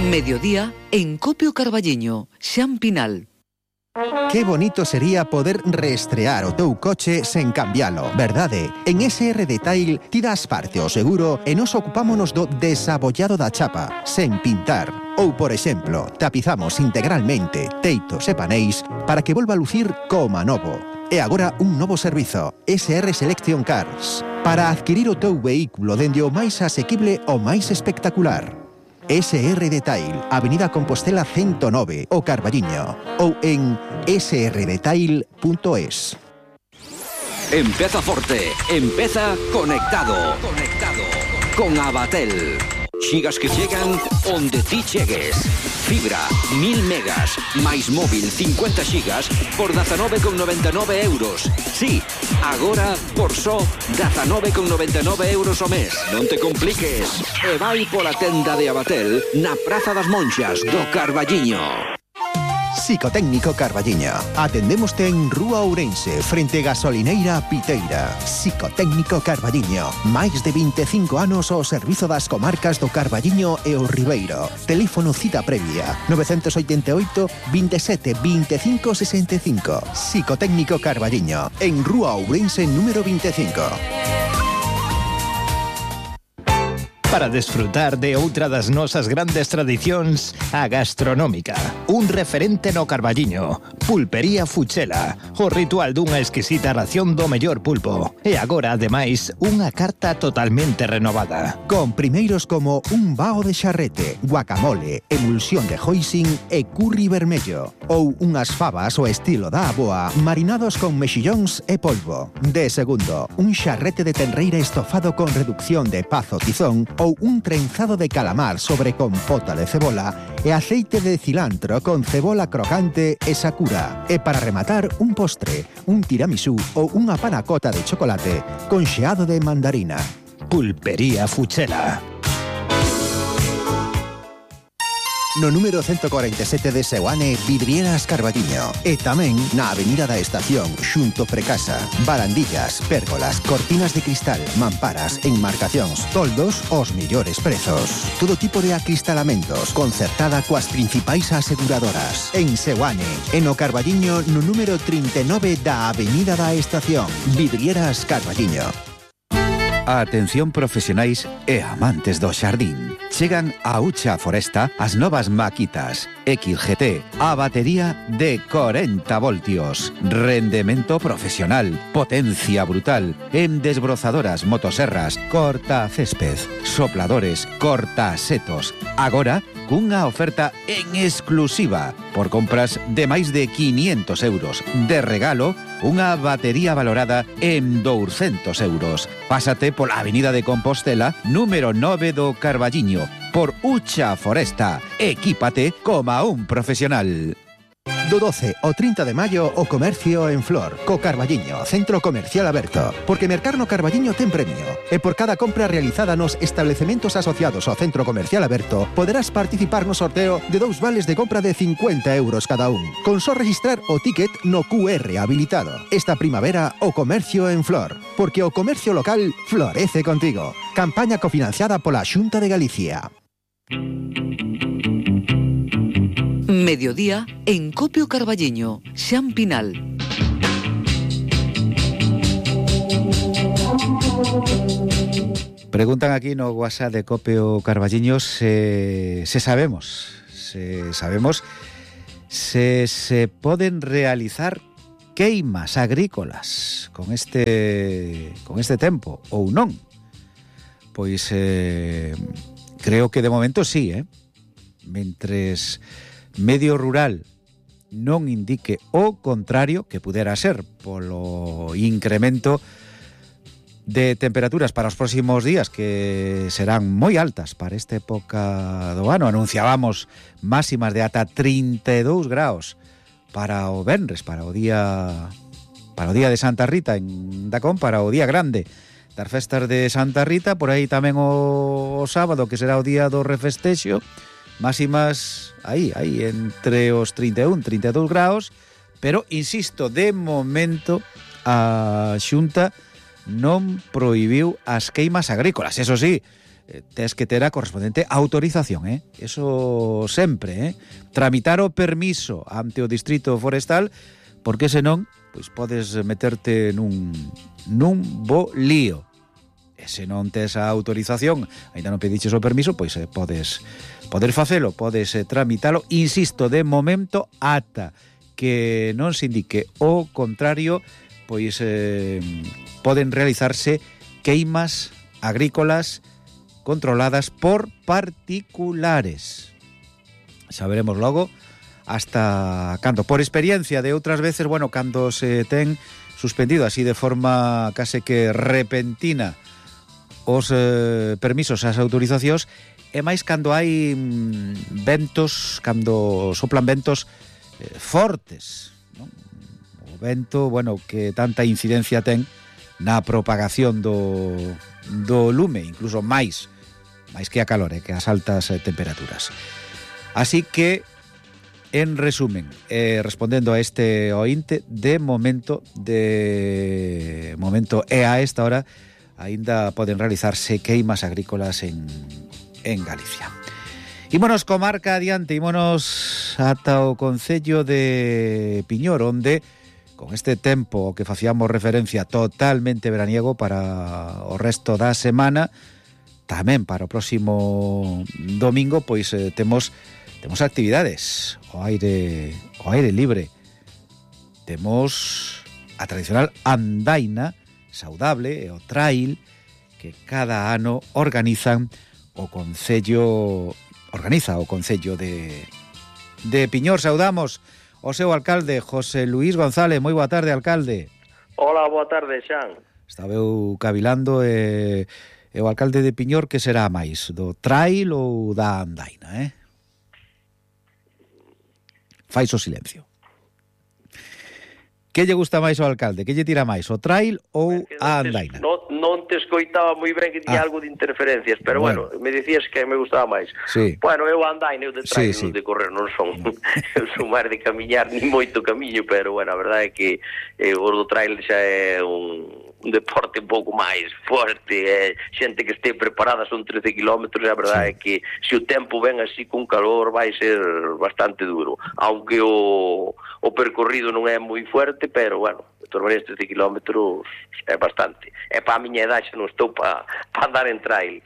Mediodía en Copio Carballiño, Xan Pinal. Qué bonito sería poder reestrear o teu coche sen cambialo, verdade? En SR Detail ti das parte ao seguro e nos ocupámonos do desabollado da chapa, sen pintar. Ou, por exemplo, tapizamos integralmente teitos e paneis para que volva a lucir como novo. E agora un novo servizo, SR Selection Cars, para adquirir o teu vehículo dende o máis asequible ao máis espectacular. SR Detail, Avenida Compostela 109, o Carballiño, ou en srdetail.es. Empeza forte, empeza conectado. Con Abatel. Xigas que chegan onde ti chegues. Fibra, 1000 megas, máis móvil 50 xigas por 19,99 euros. Sí, agora por só 19,99 euros ao mes. Non te compliques. E vai pola tenda de Abatel na Praza das Monxas do Carballiño. Psicotécnico Carballiño. Atendémoste en Rúa Ourense, frente Gasolineira Piteira. Psicotécnico Carballiño. Máis de 25 anos ao servizo das comarcas do Carballiño e o Ribeiro. Teléfono cita previa 988 27 25 65. Psicotécnico Carballiño. En Rúa Ourense número 25. Para desfrutar de outra das nosas grandes tradicións, a gastronómica. Un referente no Carballiño. Pulpería Fuchela. O ritual dunha exquisita ración do mellor pulpo. E agora, ademais, unha carta totalmente renovada. Con primeiros como un bao de xarrete, guacamole, emulsión de hoisin e curry vermello. Ou unhas fabas ao estilo da aboa, marinados con mexillóns e polvo. De segundo, un xarrete de tenreira estofado con reducción de pazo tizón ou un trenzado de calamar sobre compota de cebola e aceite de cilantro con cebola crocante e sakura. E para rematar, un postre, un tiramisú ou unha panacota de chocolate con xeado de mandarina. Pulpería Fuchela. No número 147 de Seoane, Vidrieras Carballiño. E tamén na Avenida da Estación, xunto Precasa. Barandillas, pérgolas, cortinas de cristal, mamparas, enmarcacións, toldos, os mellores prezos. Todo tipo de acristalamentos, concertada coas principais aseguradoras. En Seoane, e no Carballiño, no número 39 da Avenida da Estación. Vidrieras Carballiño. Atención profesionais e amantes do xardín. Chegan a Ucha Foresta as novas maquitas XGT, a batería de 40 voltios, rendemento profesional, potencia brutal, en desbrozadoras, motoserras, corta césped, sopladores, corta setos. Agora, cunha oferta en exclusiva, por compras de máis de 500 euros. De regalo, unha batería valorada en 200 euros. Pásate pola Avenida de Compostela, número 9 do Carballiño, por Ucha Foresta. Equípate como un profesional. Do 12 ao 30 de maio, o comercio en flor, co Carballiño, centro comercial aberto. Porque mercar no Carballiño ten premio. E por cada compra realizada nos establecementos asociados ao centro comercial aberto, poderás participar no sorteo de 2 vales de compra de 50 euros cada un. Con só registrar o ticket no QR habilitado. Esta primavera, o comercio en flor. Porque o comercio local florece contigo. Campaña cofinanciada pola Xunta de Galicia. Mediodía en Copio Carballiño, Xan Pinal. Preguntan aquí no WhatsApp de Copio Carballiño se sabemos se poden realizar queimas agrícolas con este tempo ou non. Pois creo que de momento sí, mentres Medio Rural non indique o contrario, que pudera ser polo incremento de temperaturas para os próximos días, que serán moi altas para esta época do ano. Anunciábamos máximas de ata 32 graus para o venres, para o día de Santa Rita en Dacón, para o día grande das festas de Santa Rita, por aí tamén o sábado, que será o día do refestexo. Máximas aí entre os 31 e 32 graus, pero, insisto, de momento a Xunta non prohibiu as queimas agrícolas. Eso sí, tes que ter a correspondente autorización, eso sempre, tramitar o permiso ante o Distrito Forestal, porque senón, pois podes meterte nun bo lío. E se non tes a autorización, ainda non pediches o permiso, pois podes facelo, podes tramitalo, insisto, de momento ata que non se indique o contrario, pois poden realizarse queimas agrícolas controladas por particulares. Xa veremos logo hasta cando. Por experiencia de outras veces, bueno, cando se ten suspendido así de forma case que repentina os permisos, as autorizacións, e máis cando hai ventos, cando soplan ventos fortes, non? O vento, bueno, que tanta incidencia ten na propagación do lume, incluso máis que a calor, que as altas temperaturas. Así que, en resumen, respondendo a este ointe, de momento e a esta hora, aínda poden realizarse queimas agrícolas en Galicia. Ímonos comarca adiante, ímonos ata o concello de Piñor, onde con este tempo que facíamos referencia totalmente veraniego para o resto da semana, tamén para o próximo domingo, pois temos actividades ao aire libre. Temos a tradicional andaina saudable e o trail que cada ano organiza o Concello de Piñor. Saudamos o seu alcalde, José Luís González. Moi boa tarde, alcalde. Hola, boa tarde, Xan. Estaba eu cavilando e o alcalde de Piñor, que será máis, do trail ou da andaina, Fais o silencio. Que lle gusta máis ao alcalde? Que lle tira máis, o trail ou a andaina? Non te escoitaba moi ben, que tiña algo de interferencias, pero bueno, me dicías que me gustaba máis. Sí. Bueno, eu a andaina, eu de trail, non de correr, non son. Eu son máis de camiñar, ni moito camiño, pero bueno, a verdade é que o do trail xa é un deporte un pouco máis forte, xente que este preparada, son 13 kilómetros, e a verdade é que se o tempo ven así con calor vai ser bastante duro, aunque o percorrido non é moi fuerte, pero bueno, de todas maneiras 13 kilómetros é bastante, e para a miña edade xa non estou para andar en trail.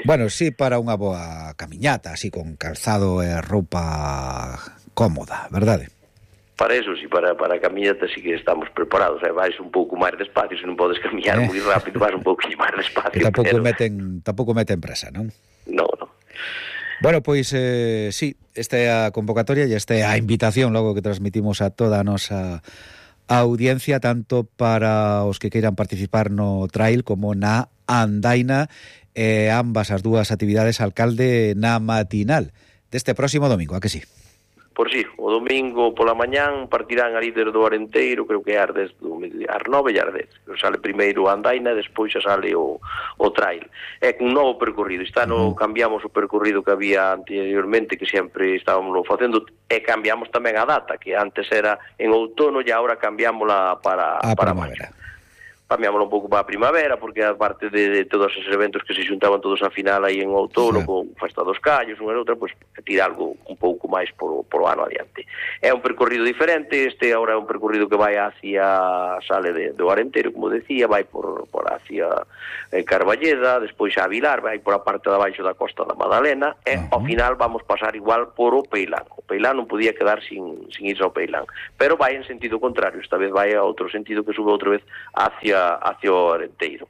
Bueno, sí, para unha boa camiñata, así con calzado e roupa cómoda, verdade? Para eso, sí, para a camiñata sí que estamos preparados, vais un pouco máis despacio, se non podes camiñar moi rápido, vas un pouco máis despacio. Que tampouco meten presa, non? Non. Bueno, pois, sí, esta é a convocatoria e esta é a invitación logo que transmitimos a toda a nosa audiencia, tanto para os que queiran participar no trail como na andaina, ambas as dúas actividades, alcalde, na matinal deste próximo domingo, a que sí? Por si, o domingo pola mañán partirán a líder do Arenteiro, creo que é ás 9 e ás 10. Sale primeiro a andaina, despois xa sale o trail. É un novo percorrido. Este ano cambiamos o percorrido que había anteriormente, que sempre estábamos facendo, e cambiamos tamén a data, que antes era en outono e agora cambiámola para primavera. Cambiámoslo un pouco para a primavera, porque aparte de todos esos eventos que se xuntaban todos a final aí en outono, con Festa dos Callos, unha e outra, pois tira algo un pouco máis por o ano adiante. É un percorrido diferente, este agora é un percorrido que vai hacia sale do Arenteiro, como decía, vai por hacia Carballeda, despois a Vilar, vai por a parte de abaixo da Costa da Madalena, e ao final vamos pasar igual por o Peilán. O Peilán non podía quedar sin irse ao Peilán, pero vai en sentido contrario, esta vez vai a outro sentido, que sube outra vez hacia o Arenteiro.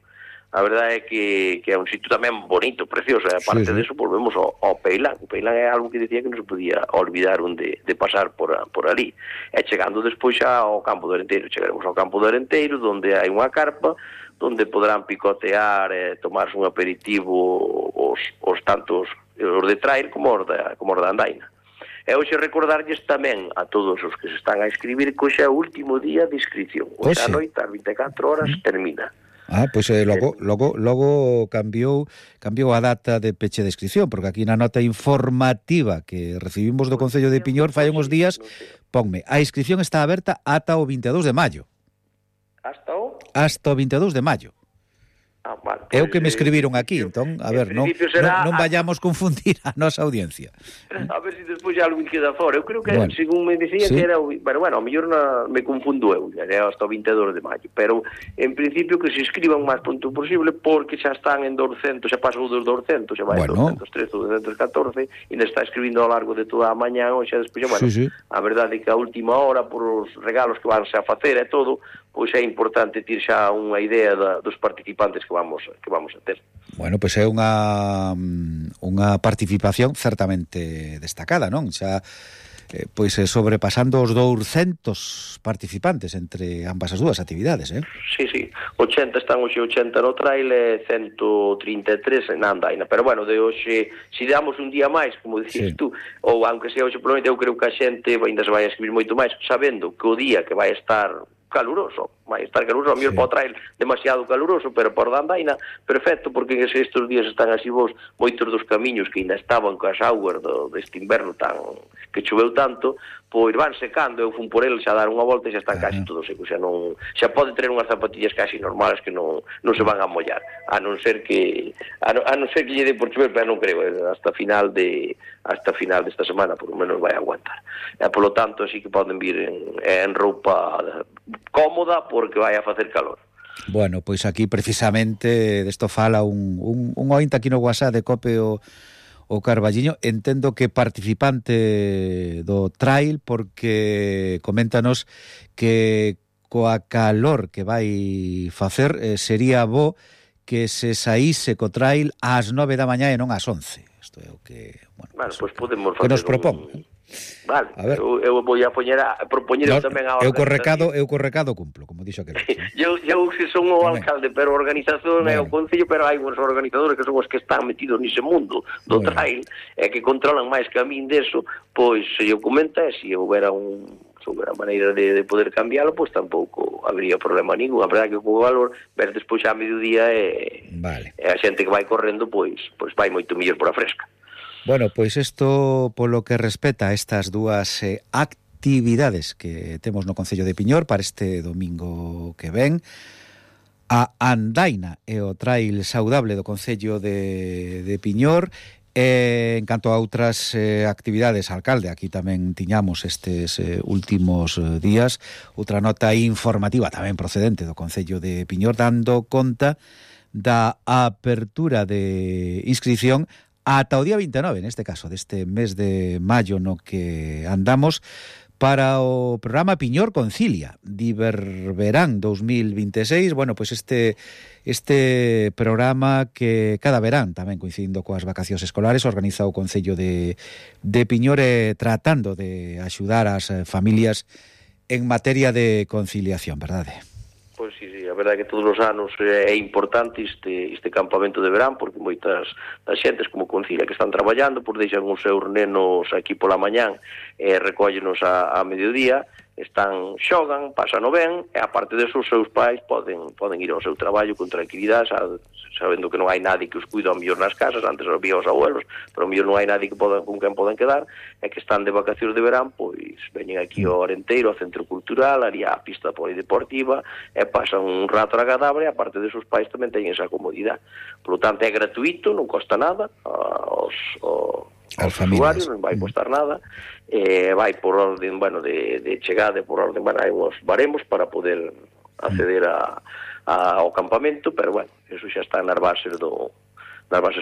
A verdade é que é un sitio tamén bonito, precioso, e aparte deso volvemos ao Peilán. O Peilán é algo que dicía que non se podía olvidar de pasar por ali. E chegando despois xa ao campo do Arenteiro, chegaremos ao campo do Arenteiro, onde hai unha carpa, onde poderán picotear e tomarse un aperitivo os tantos os de trail como os da andaina. E hoxe recordarlles tamén a todos os que se están a inscribir que hoxe é o último día de inscripción. Hoxe a noite, ás 24 horas, termina. Pois logo cambiou a data de peche de inscripción, porque aquí na nota informativa que recibimos do Concello de Piñor fai uns días, ponme, a inscripción está aberta ata o 22 de maio. Hasta o 22 de maio. Vale, É o que me escribiron aquí, entón, a ver, non vayamos confundir a nosa audiencia. A ver se despois algo queda fora. Eu creo que, según me dicía, sí, que era... Bueno, ao mellor me confundo eu, era hasta o 22 de maio, pero en principio que se escriban o máis pronto posible, porque xa están en 200, xa pasou dos 200, xa vai en 213, 214, e está escribindo ao largo de toda a mañá, ou xa despois, bueno, sí. A verdade é que a última hora, por os regalos que vanse a facer e todo, pois é importante ter xa unha idea dos participantes que vamos a ter. Bueno, pois é unha participación certamente destacada, non? Xa pois sobrepasando os 200 participantes entre ambas as dúas actividades, Sí, 80 están hoxe, 80 no trail e 133 na andaina, pero bueno, de hoxe, se damos un día máis, como dicís tú, ou aunque sea hoxe, probablemente eu creo que a xente ainda se vai a escribir moito máis, sabendo que o día que vai estar caluroso, vai estar caluroso, a mellor para o trail demasiado caluroso, pero por andaina perfecto, porque estes días están así vos, moitos dos camiños que ainda estaban coas augas deste inverno tan que choveu tanto, pois van secando, eu fun por el xa dar unha volta e xa están casi todos secos, xa pode ter unhas zapatillas casi normales que non se van a mollar, a non ser que lle dé por chover, pero non creo, hasta final desta semana por lo menos vai aguantar. Por lo tanto, así que poden vir en roupa cómoda porque vai a facer calor. Bueno, pois aquí precisamente desto fala un ointe aquí no WhatsApp de Cope o Carballiño, entendo que participante do trail, porque coméntanos que coa calor que vai facer sería bo que se saíse co trail ás 9 da mañá e non ás 11. Isto é o que, bueno, pues podemos facer que nos propón. Vale, eu vou a propoñer tamén a organización. Eu co recado cumplo, como dixo aquel. Eu se son o alcalde, pero a organización é o concello, pero hai uns organizadores que son os que están metidos nese mundo do trail e que controlan máis que a min deso, pois se eu comenta, se houbera sobre a maneira de poder cambiálo, pois tampouco habría problema ningún. A verdade que co valor, ver despois a mediodía e a xente que vai correndo, pois vai moito mellor por a fresca. Bueno, pois isto polo que respecta a estas dúas actividades que temos no Concello de Piñor para este domingo que ven, a andaina e o trail saudable do Concello de Piñor. En canto a outras actividades, alcalde, aquí tamén tiñamos estes últimos días outra nota informativa tamén procedente do Concello de Piñor, dando conta da apertura de inscripción ata o día 29, neste caso, deste mes de maio no que andamos, para o programa Piñor Concilia, Diververán 2026. Bueno, pois este programa que cada verán, tamén coincidindo coas vacacións escolares, organiza o Concello de Piñor, tratando de axudar as familias en materia de conciliación, verdade? Pois sí, a verdade é que todos os anos é importante este campamento de verán, porque moitas das xentes como Concilia que están traballando, por deixan os seus nenos aquí pola mañán e recóllenos a mediodía, xogan, pasano ben, e aparte deso os seus pais poden ir ao seu traballo con tranquilidade, sabendo que non hai nadie que os cuida ao mellor nas casas, antes había os abuelos, pero ao mellor non hai nadie con quen poden quedar, e que están de vacacións de verán, pois veñen aquí ao Arenteiro, ao Centro Cultural, ali á pista polideportiva, e pasan un rato agradable, e aparte desos pais tamén teñen esa comodidade. Por lo tanto, é gratuito, non costa nada aos usuarios, non vai costar nada, vai por orden, de chegada, por orden, hai uns baremos para poder acceder ao campamento, pero eso xa está nas bases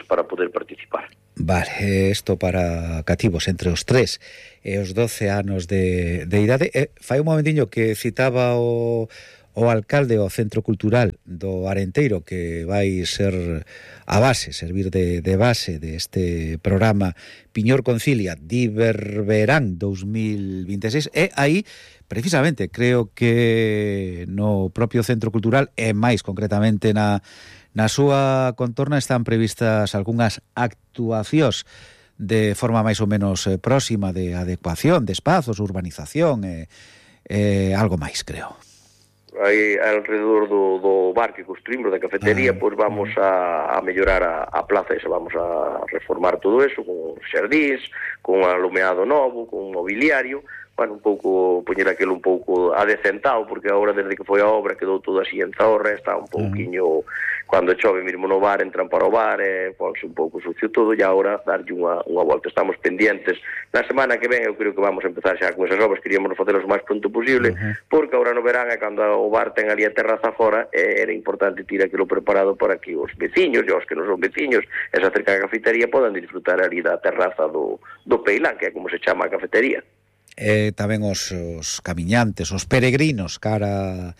para poder participar. Vale, isto para cativos entre os 3 e os 12 anos de idade. Fai un momentiño que citaba o alcalde o Centro Cultural do Arenteiro, que vai ser a base, servir de base deste programa Piñor Concilia Diververán 2026, e aí precisamente creo que no propio Centro Cultural e máis concretamente na súa contorna están previstas algunhas actuacións de forma máis ou menos próxima de adecuación de espazos, urbanización e algo máis, creo. Aí alrededor do bar que construímos, da cafetería, pois vamos a mellorar a plaza esa, vamos a reformar todo eso con xardíns, con alumeado novo, con mobiliario, un pouco, poñer aquilo un pouco adecentado, porque agora desde que foi a obra quedou todo así en zorra, está un pouquiño cando chove mesmo no bar, entran para o bar, ponse un pouco sucio todo, e agora darlle unha volta. Estamos pendientes. Na semana que ven eu creo que vamos a empezar xa con esas obras, queríamos facelas o máis pronto posible, porque agora no verán é cando o bar ten ali a terraza fora, era importante ter aquilo preparado para que os veciños, e os que non son veciños, esa cerca da cafetería, podan disfrutar ali da terraza do Peilán, que é como se chama a cafetería. Tamén os camiñantes, os peregrinos cara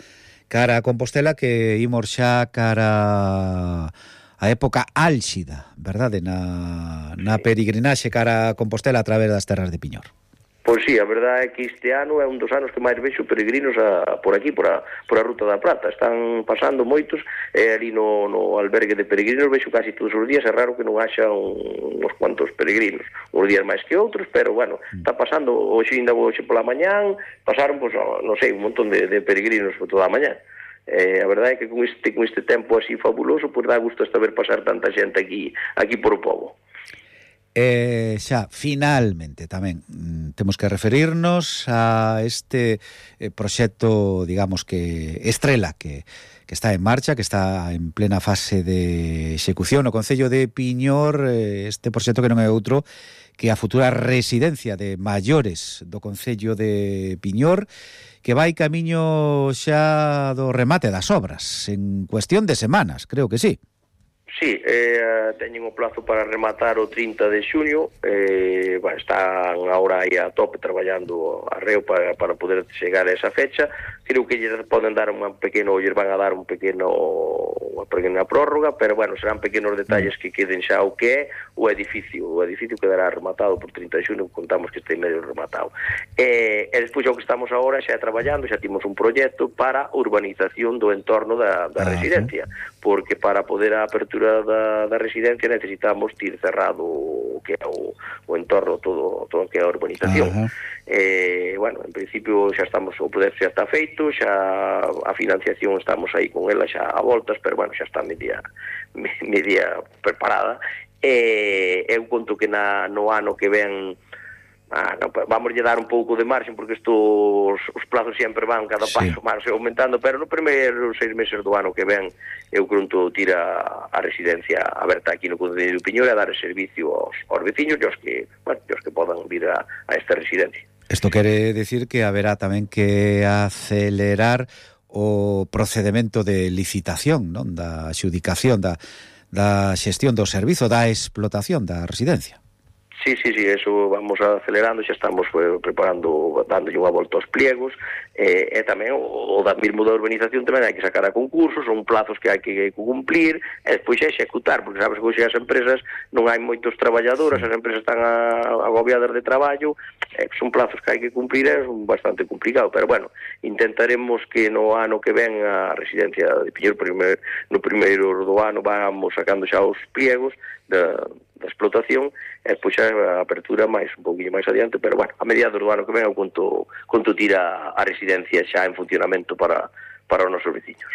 a Compostela, que imos xa cara a época álxida, verdade, na peregrinaxe cara a Compostela a través das terras de Piñor. Pois sí, a verdade é que este ano é un dos anos que máis vexo peregrinos por aquí, por a Ruta da Prata. Están pasando moitos, ali no albergue de peregrinos vexo casi todos os días. É raro que non haxa uns cuantos peregrinos, uns días máis que outros, pero bueno, está pasando. Hoxe pola mañán pasaron, pois, non sei, un montón de peregrinos por toda a mañán. A verdade é que con este tempo así fabuloso, pois dá gusto hasta ver pasar tanta xente aquí por o pobo. Xa, finalmente tamén temos que referirnos a este proxecto, digamos que estrela que está en marcha, que está en plena fase de execución no Concello de Piñor, este proxecto que non é outro que a futura residencia de maiores do Concello de Piñor, que vai camiño xa do remate das obras en cuestión de semanas, creo que sí. Sí, teñen o plazo para rematar o 30 de xuño, están agora aí a tope traballando arreo para poder chegar a esa fecha. Creo que lles poden dar unha pequena prórroga, pero bueno, serán pequenos detalles que queden xa o que é o edificio. O edificio quedará rematado por 30 de xuño, contamos que este medio rematado. E despois o que estamos agora xa traballando, xa timos un proxecto para urbanización do entorno da residencia, porque para poder a apertura da residencia necesitamos ter cerrado o que é o entorno, todo o que é a urbanización. Bueno, en principio xa estamos, o poder xa está feito, xa a financiación estamos aí con ela xa a voltas, pero bueno, xa está media preparada. Eu conto que no ano que ven vamos lle dar un pouco de marxen, porque os plazos sempre van cada paso máis aumentando, pero no primeiro 6 meses do ano que ven eu conto tira a residencia aberta aquí no Concello de Piñor a dar servicio aos veciños e aos que podan vir a esta residencia. Isto quere decir que haberá tamén que acelerar o procedimento de licitación, non, da adxudicación, da xestión do servizo, da explotación da residencia. Sí, eso vamos acelerando, xa estamos preparando, dándolle unha volta aos pliegos, e tamén o mismo da urbanización tamén hai que sacar a concursos, son plazos que hai que cumplir, e despois executar, porque sabes que hoxe as empresas non hai moitos traballadores, as empresas están agobiadas de traballo, son plazos que hai que cumplir, é bastante complicado, pero bueno, intentaremos que no ano que ven a residencia de Piñor, no primeiro do ano, vamos sacando xa os pliegos da explotación, e pois a apertura un pouquinho máis adiante, pero bueno, a mediados do ano que ven eu conto tira a residencia xa en funcionamento para os nosos veciños.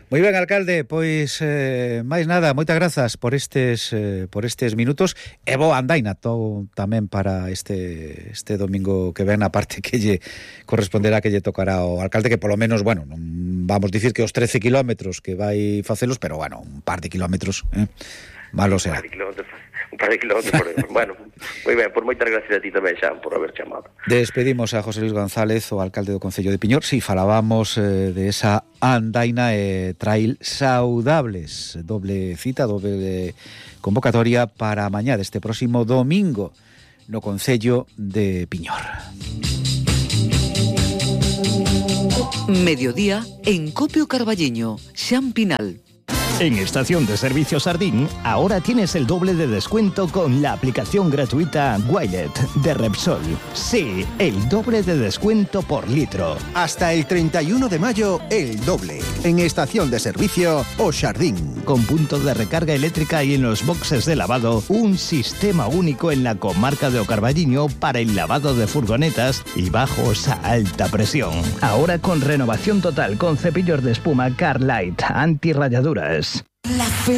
Moi ben, alcalde, pois máis nada, moitas grazas por estes minutos, e boa andaina tamén para este domingo que ven, a parte que lle corresponderá, que lle tocará ao alcalde, que polo menos, bueno, non vamos dicir que os 13 kilómetros que vai facelos, pero bueno, un par de kilómetros, malo será. Un par de kilómetros. Bueno, moi ben, por moitas gracias a ti tamén, Xan, por haber chamado. Despedimos a José Luis González, o alcalde do Concello de Piñor. Si, falábamos de esa andaina e trail saudables. Doble cita, doble convocatoria para mañá deste próximo domingo no Concello de Piñor. Mediodía en Copio Carballiño, Xan Pinal. En Estación de Servicio Sardín, ahora tienes el doble de descuento con la aplicación gratuita Wilet de Repsol. Sí, el doble de descuento por litro. Hasta el 31 de mayo, el doble. En Estación de Servicio O Sardín. Con punto de recarga eléctrica y en los boxes de lavado, un sistema único en la comarca de O Carballiño para el lavado de furgonetas y bajos a alta presión. Ahora con renovación total con cepillos de espuma Carlite antirrayaduras. La